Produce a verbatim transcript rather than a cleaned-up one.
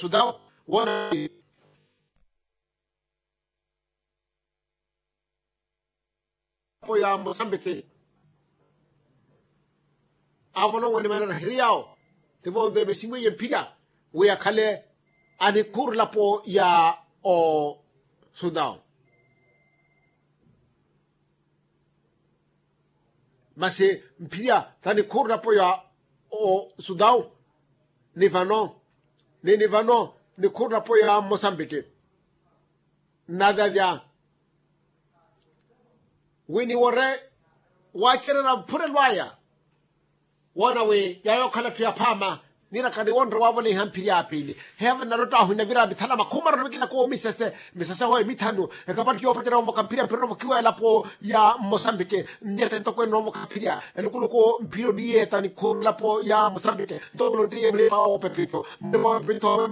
Sudao, woona apo ya mosambiki. Avolowe ni manaraheri yawo, tivonve misimu eye mphirya wi akhale anikhuurulapo ya osudao. Masi mphirya tanikhuurulapo ya osudao ni vano, ni ni vano nikhuurulapo ya mosambiki. Nnavyavya wi niwore wacererya mphurelo aya. Woona wi yaya okhala etthu yaphaama. Niraka niwonre wavoliha mphirya ya piili. Heevo nnarotta ahwina vira mithala makhumi mararu mikina koomisese misese hoye mithanu. Ekapattu yoopacerya onvoka mphirya mphirya onvokiwa elapo ya mosambiki. Nnyete ntoko ene onvoka mphirya elukuluku mphirya oniyeeta nikhuurulapo ya mosambiki. Ntoko nottiye mulima woopepittho mulima woopepittho.